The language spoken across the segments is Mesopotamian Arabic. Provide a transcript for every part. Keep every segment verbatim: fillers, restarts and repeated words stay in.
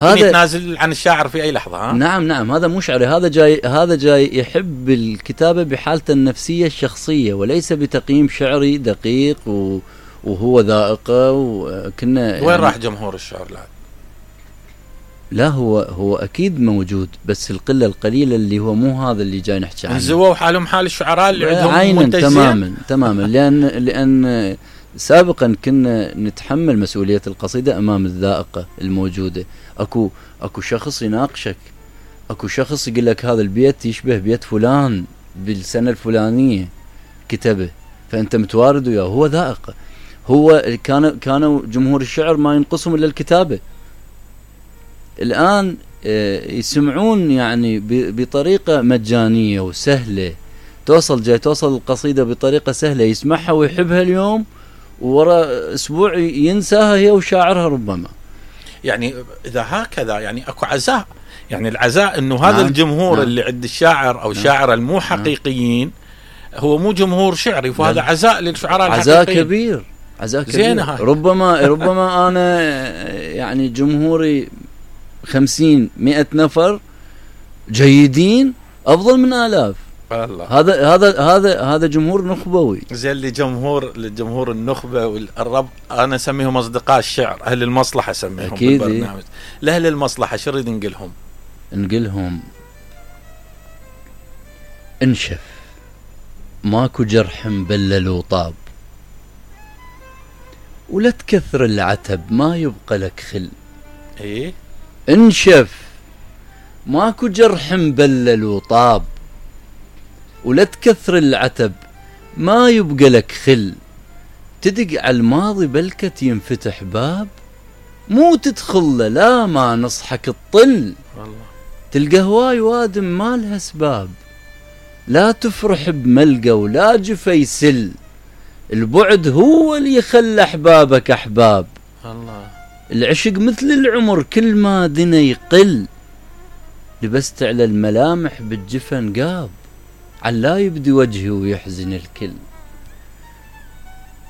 هذا يتنازل عن الشاعر في اي لحظه. ها؟ نعم نعم، هذا مو شعري، هذا جاي هذا جاي يحب الكتابه بحالته النفسيه الشخصيه، وليس بتقييم شعري دقيق و وهو ذائقه. وكنا وين يعني راح جمهور الشعر الان؟ لا هو هو اكيد موجود، بس القله القليله اللي هو مو هذا اللي جاي نحكي عنه. انزووا حالهم حال الشعراء اللي عندهم منتجين تماما تماما. لان لان سابقا كنا نتحمل مسؤوليه القصيده امام الذائقه الموجوده. اكو اكو شخص يناقشك، اكو شخص يقول لك هذا البيت يشبه بيت فلان بالسنه الفلانيه كتبه، فانت متوارد وياه، هو ذائقه. هو كان كانوا جمهور الشعر ما ينقصهم الا الكتابه. الآن يسمعون يعني بطريقة مجانية وسهلة، توصل جاي توصل القصيدة بطريقة سهلة، يسمعها ويحبها اليوم، وورا أسبوع ينساها هي وشاعرها ربما. يعني إذا هكذا يعني أكو عزاء، يعني العزاء إنه هذا نعم الجمهور نعم اللي عند الشاعر أو نعم الشاعر المو حقيقيين نعم هو مو جمهور شعري، فهذا عزاء للشعراء الحقيقيين. عزاء كبير، عزاء كبير. ربما ربما أنا يعني جمهوري خمسين مئة نفر جيدين أفضل من آلاف. الله. هذا هذا هذا هذا جمهور نخبوي. زي اللي جمهور للجمهور النخبة والرب، أنا أسميهم أصدقاء الشعر، أهل المصلحة أسميهم بالبرنامج. لأهل المصلحة شو نريد نقلهم؟ نقلهم انشف، ماكو جرح مبلل وطاب، ولا تكثر العتب ما يبقى لك خل. إيه؟ انشف، ماكو جرح مبلل وطاب، ولا تكثر العتب ما يبقى لك خل. تدق على الماضي بلكت ينفتح باب، مو تدخل له لا ما نصحك تطل. والله تلقى هواي وادم ما لها اسباب، لا تفرح بملقى ولا جفا يسل. البعد هو اللي يخلى احبابك احباب. الله. العشق مثل العمر كل ما دنا يقل، لبست على الملامح بالجفن قاب، علا يبدي وجهي ويحزن الكل.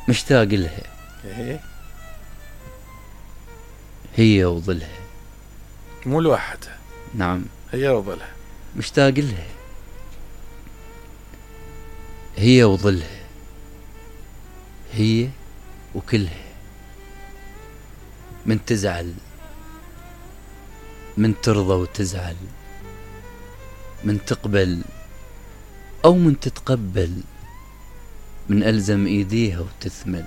مشتاق لها هي وظلها، مو لوحدها. نعم هي وظلها. مشتاق لها هي وظلها، هي وكلها. من تزعل، من ترضى وتزعل، من تقبل أو من تتقبل، من ألزم إيديها وتثمل.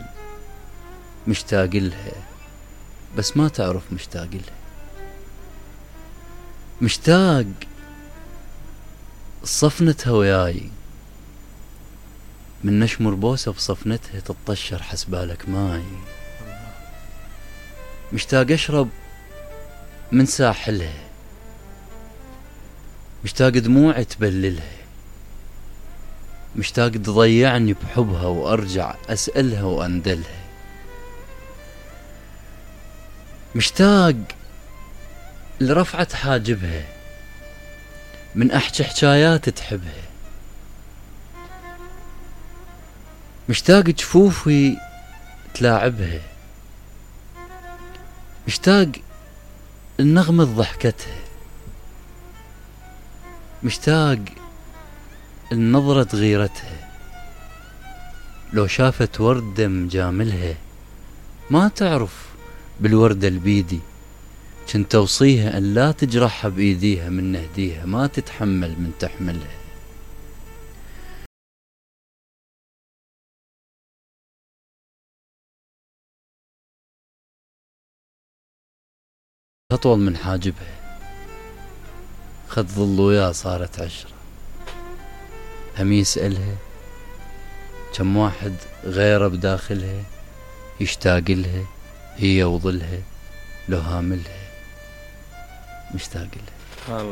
مشتاق لها بس ما تعرف مشتاق لها. مشتاق صفنتها وياي، من نشمر بوسة بصفنتها تطشر حسبالك ماي. مشتاق أشرب من ساحلها، مشتاق دموعي تبللها، مشتاق تضيعني بحبها وأرجع أسألها وأندلها. مشتاق لرفعة حاجبها، من أحكي حكايات تحبها. مشتاق جفوفي تلاعبها، مشتاق النغمة ضحكتها، مشتاق النظرة غيرتها. لو شافت وردة مجاملها ما تعرف بالوردة البيدي، كنت توصيها أن لا تجرحها بإيديها، من نهديها ما تتحمل من تحملها. أطول من حاجبها، خد ظل وياه صارت عشرة. هم يسألها كم واحد غيره بداخلها، يشتاق لها هي وظلها، لو هاملها مشتاق لها.